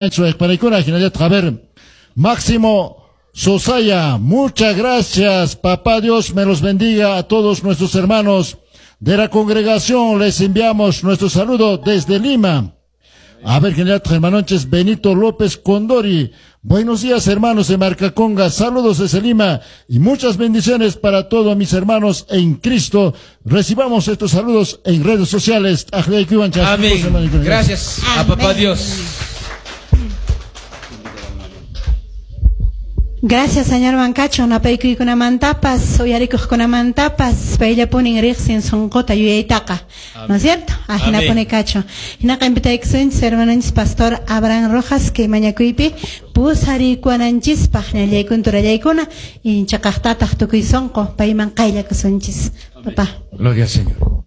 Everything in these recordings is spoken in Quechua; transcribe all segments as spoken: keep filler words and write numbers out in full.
A ver, Máximo Sosaya, muchas gracias. Papá Dios me los bendiga a todos nuestros hermanos de la congregación. Les enviamos nuestro saludo desde Lima. A ver, general hermanonches, Benito López Condori. Buenos días, hermanos de Marcaconga. Saludos desde Lima y muchas bendiciones para todos mis hermanos en Cristo. Recibamos estos saludos en redes sociales. Amén. Gracias a Papá Dios. Gracias, señor Bancacho. Napaykuykunamantapas, uyarikuqkunamantapas, payllapunin riqsin sunquta yuyaytaqa. ¿No es cierto? Ajina pone cacho. Hinaqa invitaykusunchis hermanonchis pastor Abraham Rojas que mañakuypi pusarikuwananchispaq ñallaykun turallaykuna inchaqaqtataq tukuy sunqu payman qayllakusunchis. Papá. Gloria al Señor.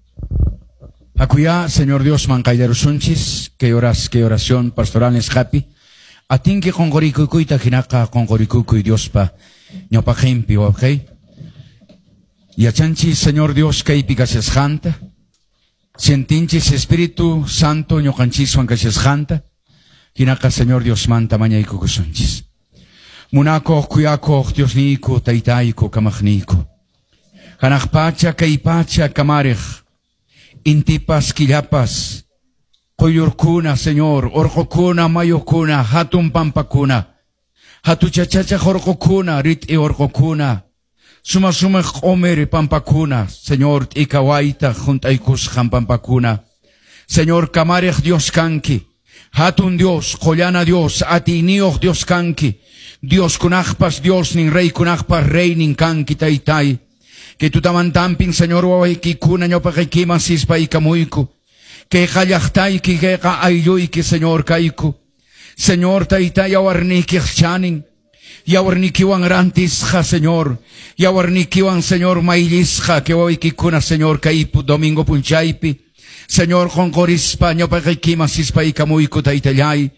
Akuyá, Señor Dios, man qayllarusunchis, que horas, que oración pastoral es happy. Atinki qonqorikukuyta hinaqa qonqorikukuy Diospa ñawpaqinpi wawqey. Yachanchis Señor Dios kaypi kashasqanta. Sentinchis Espíritu Santo ñuqanchiswan kashasqanta. Hinaqa Señor Diosmanta mañaykukusunchis. Munakuq kuyakuq Diosniyku taytayku kamaqniyku. Hanaq pacha kay pacha kamariq. Intipas killapas. Qoyurkuna, Señor, orqokuna, mayukuna, hatun pampakuna, hatuchachacha orqokuna, rit'i orqokuna, suma suma q'omir pampakuna, Señor, t'ikawayta junt'aykusqan pampakuna. Señor, kamariq Dios kanki, hatun Dios, qollana Dios, atiyniyuq Dios kanki, Dios kunaqpas Dios nin, rey kunaqpas reynin kanki taytay. Que tutamantampin, Señor, wawaykikuna ñawpaqaykiman sispaykamuyku. Kayqa llaqtayki, kayqa aylluyki, Señor, kayku. Señor, tayta, yawarniykiq chanin. Yawarniykiwan rantisqa, Señor. Yawarniykiwan, Señor, mayllisqa, kay wawaykikuna, Señor, kaypu domingo punchaypi. Señor, qonqorispa, ñawpaqaykiman sispaykamuyku, taytallay.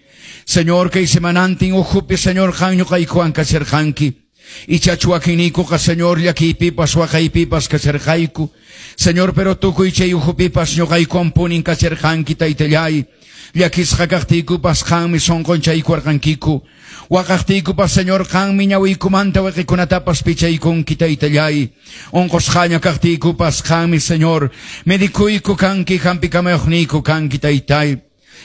Señor, kay semanantin ukhupi, Señor, qan ñuqaykuwan kasharqanki. Ichachu wakinniykuqa, Señor, llakiypipas, waqaypipas kasharqayku. Señor, pero tukuy chay ukhupipas ñuqaykuwan punin kasharqanki, taytallay. Llakisqa kaqtiykupas qanmi sunqunchaykuwarqankiku. Waqaqtiykupas, Señor, qanmi ñawiykumanta waqikunatapas pichaykunki, taytallay. Unqusqaña kaqtiykupas qanmi, Señor, medikuyku kanki, hampikamayuqniyku kanki, taytay.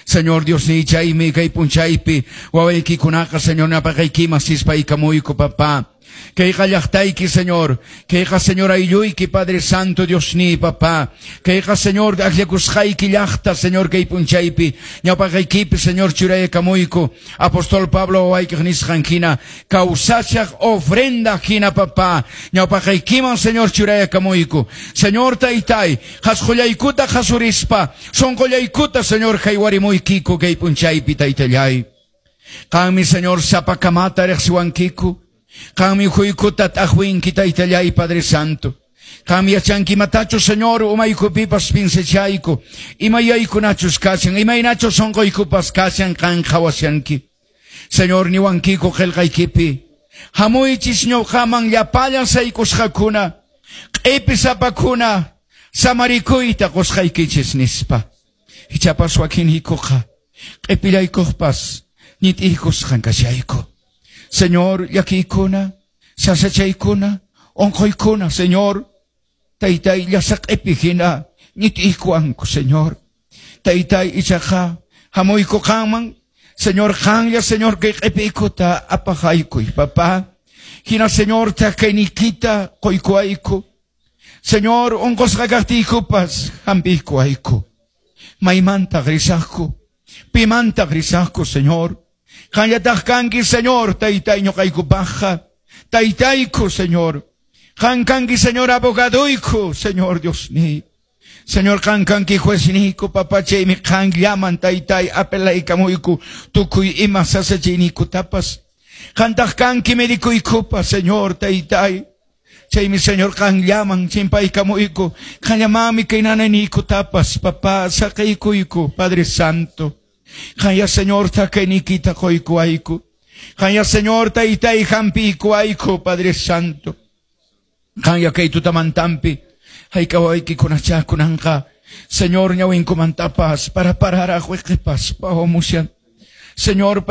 Señor Dios ni chaymi kay punchaypi wawaykikunaqa, Señor, ñapaqaykiman sispaykamuyku, papá. Kayqa llaqtayki, Señor. Kayqa, Señor, aylluyki, Padre Santo, Dios ni, papá. Kayqa, Señor, akllakusqayki llaqta, Señor, kay punchaypi ñawpaqaykipi, Señor, churaykamuyku. Apóstol Pablo wawaykiq nisqan hina kawsachaq ofrenda hina, papá. Ñawpaqaykiman, Señor, churaykamuyku. Señor, taytay, qhasqullaykuta qhasurispa, sunqullaykuta, Señor, haywarimuykiku kay punchaypi, taytallay. Qanmi, Señor, sapakamata riqsiwankiku. Qanmi huykuta t'aqwinki, taytallay, Padre Santo. Qanmi yachanki imatachu, Señor, umaykupipas pinsachayku. Imayaykunachus kashan, imaynachus sunquykupas kashan, qan qhawashanki. Señor, niwankiku qillqaykipi. Hamuychis ñuqaman llapallan saykusqakuna, q'ipi sapakuna, samarikuyta qusqaykichis nispa. Ichapas wakinniykuqa, q'ipillaykuqpas, ñit'iykusqan kashayku. Señor, llakiykuna, sasachaykuna, unquykuna, Señor, taytay llasaq'ipi hina ñit'iykuwanku, Señor. Taytay ichaqa hamuyku qanman, Señor, qanlla, Señor, kay q'ipiykuta apaqaykuy, papá. Hina, Señor, takayniykita quykuwayku. Señor, unqusqa kaqtiykupas hampiykuwayku. Maymantaq risaqku, pimantaq risaqku, Señor. Qanllataq kanki, Señor, taytay ñuqaykupaqqa, taytayku, Señor. Qan kanki, Señor, abogaduyku, Señor Dios ni. Señor, qan kanki juezniyku, papachaymi qanllaman, taytay, apelaykamuyku, tukuy ima sasachayniykutapas. Qantaq kanki medikuykupas, Señor, taytay. Chaymi, Señor, qanllaman chimpaykamuyku, qanllamanmi kay nanayniykutapas, papá, saqaykuyku, Padre Santo. Qanya, Señor, takayniykita quykuwayku. Qanya, Señor, taytay hampiykuwayku, Padre Santo. Qanya kay tutamantampi hayka wawaykikunachá kunanqa, Señor, ñawinkumantapas para pararaq wiqipas pawamushan. Señor.